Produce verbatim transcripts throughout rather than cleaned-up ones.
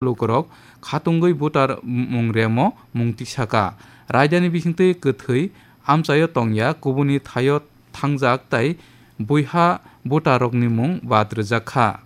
lukurok khatungwi voter mung remo mung tisaka. Raidani bisingtwi kwthwi amchaio tongya, kubuni thaio thangjak tai buiha voterrokni mung bad rwjak kha.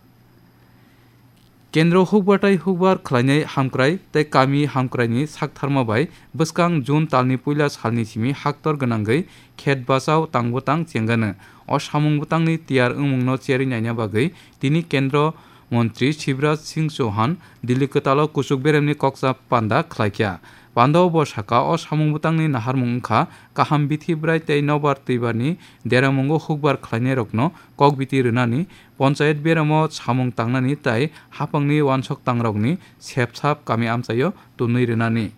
Kendro hukbar tai hukbar khlainai hamkrai tai kami hamkraini saktharma bai bwskang June talni puila salni simi haktor gwnangwi khet bachao tang bwtang chengano. O samung bwtangni tiyar wngmungno cherwi naina bagwi tini Kendro Montri Shivraj Singh Chauhan Delhi kwtalo kuchuk beremni koksa panda khlaikha. Pandao bo saka, o samung bwtangni naharmung wngkha kaham bithi bwrai tei nobar twibarni deramungo hukbar khlainairokno kokbiti rwnani, ponchayat beramo samung tangnani tai haphangni uansuk tangrokni sepsap kami amchaio tunwi rwnani.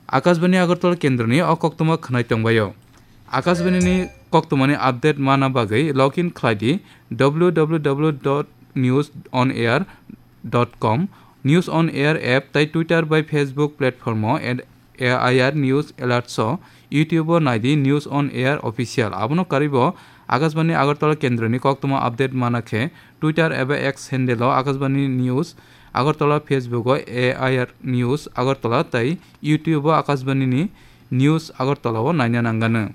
Akashbani Agartala kendroni o koktwma khwnai tongbaio. Akashbanini koktwmani update mana bagwi log in khlai di w w w dot news on air dot com, News on Air app tai Twitter bai Facebook platform o at A I R News Alerts o, YouTube o nai di News on Air Official. Abono karwi bo Akashbani Agartala kendroni koktwma update mana khe Twitter eba X handle o Akashbani News Agartala, Facebook o A I R News Agartala tai YouTube o Akashbani ni News Agartala o naina nanggano.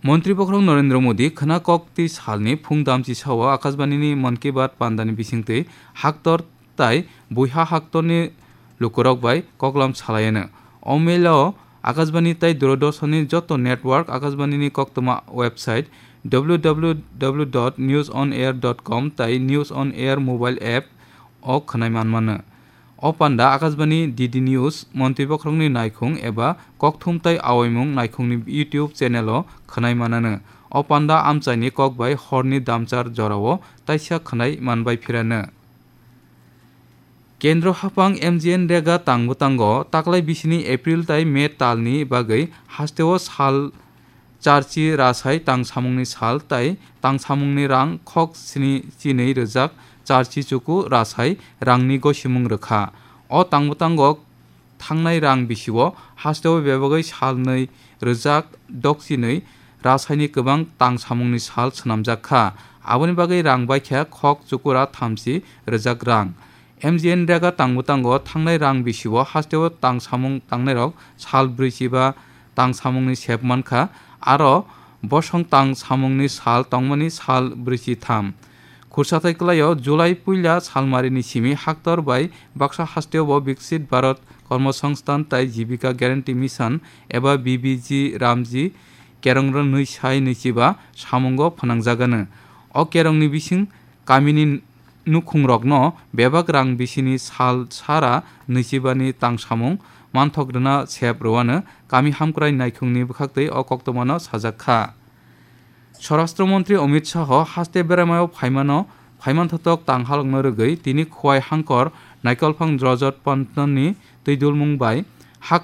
Montri Bokhorok Narendra Modi khwna kok twi salni phung damchi sao Akashbani ni Mann Ki Baat pandani bisingtwi haktor tai buiha haktorni lukurok bai koklam salaiano. O mail o Akashbani tai Doordarshan ni joto network, Akashbani ni koktwma website w w w dot news on air dot com tai News on Air mobile app o khwnai manmano. O panda Akashbani D D News, Montri Bokhorokni naikhung eba kokthum tai awaimung naikhungni YouTube channel o khwnai manano. O panda amchaini kok bai horni damchar jorao taisa khwnai manbai phirano. Kendro haphang M G N rega tang bwtango taklai bisini April tai May talni bagwi hasteo sal charchi rasai tang samungni sal tai tang samungni rang khok sni chinwi rwjak charchi chuku rasai rangni gosimung rwkha. O tang bwtango thangnai rang bisio hasteo bebagwi salnwi rwjak dokchinwi rasaini kwbang tang samungni sal swnamjak kha. Aboni bagwi rang baikha khok chukura thamchi rwjak rang. M G N rega tang bwtango thangnai rang bisio hasteo tang samung tangnairok sal brwichi ba tang samungni sep mankha, aro bosong tang samungni sal tongmani sal brwichi tham. Khursathai kwlaio July puila salmarini simi haktor bai baksa hasteo bo Viksit Bharat Kormosongsthan tai Jibika Guarantee Mission eba B B G Ramji kerong rwnwi sai nwichiba samungo phwnangjagano. O kerongni bising kamini nukhungrokno bebak rang bisini sal sara nwichibani tang samung manthok rwna sep rwano kami hamkrai naikhungni bwkhaktwi o koktwmano sajak kha. Swarashtra Montri Amit Shah haste beraimao phaimano, phaimanthotok tang halokno rwgwi tini Khowai Hangkor Naikolphang Drojot Pantani twidulmung bai hak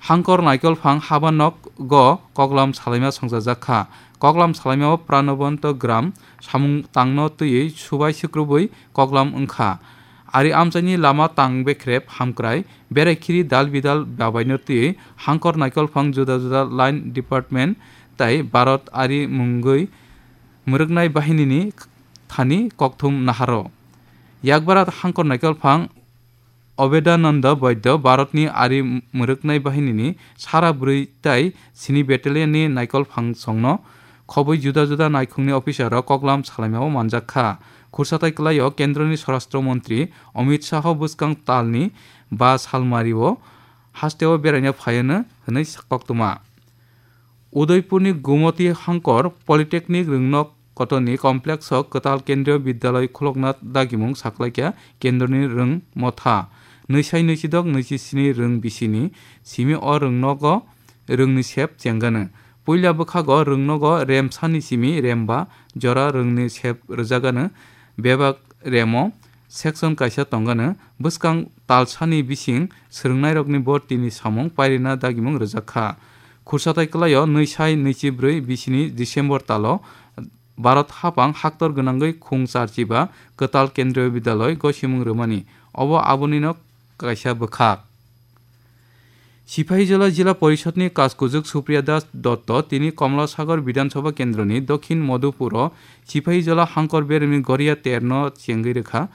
Hangkor Naikolphang haba nok go koklam salaima songchajak kha. Koklam salaimao Pranobonto Gram samung tangno twiwi subai sikrubwi koklam wngkha. Ari amchaini lama tang bekrep hamkrai, berai khiri dal bidal babaino twiwi Hangkor Naikolphang juda juda line department tai Bharat ari mungwi mwrwknai bahinini thani kokthum naharo. Yakbara Hangkor Naikolphang Obedananda Baidya Bharatni ari mwrwknai bahinini sara bwrwi tai sini battalionni Naikolphang songno khobwi juda juda naikhungni officerrok koklam salaimao manjak kha. Khursathai kwlaio Kendroni Swarashtra Montri Amit Shah bwskang talni ba salmario hasteo beraina phaiano hwnwi koktwma. Udaipurni Gumoti Hangkor Polytechnic Rwngnok Kotorni Complex o kwtal Kendriya Bidyaloi khulokna dagimung saklaikha Kendroni Rwng Motha. Nwisai nwisidok nwisisini rwng bisini simi o rwngnogo rwngni sep chengano. Puila bwkhago rwngnogo remsani simi remba jora rwngni sep rwjagano. Bebak remo section kaisa tongano, bwskang talsani bising swrwngnairokni bortini samung pairina dagimung rwjak kha. Khursathai kwlaio nwisai nwichibrwi bisini December talo Bharat haphang haktor gwnangwi khung charchiba kwtal Kendriya Bidyaloi gosimung rwmani, obo abonino kaisa bwkhak. Sipahijala Jila Porishodni Kaskujuk Supriya Das Dotto tini Komla Sagar Bidhan Sabha Kendroni Dokhin Madhupuro Sipahijala Hangkor Beremni Goria Terno chengwi rwkha.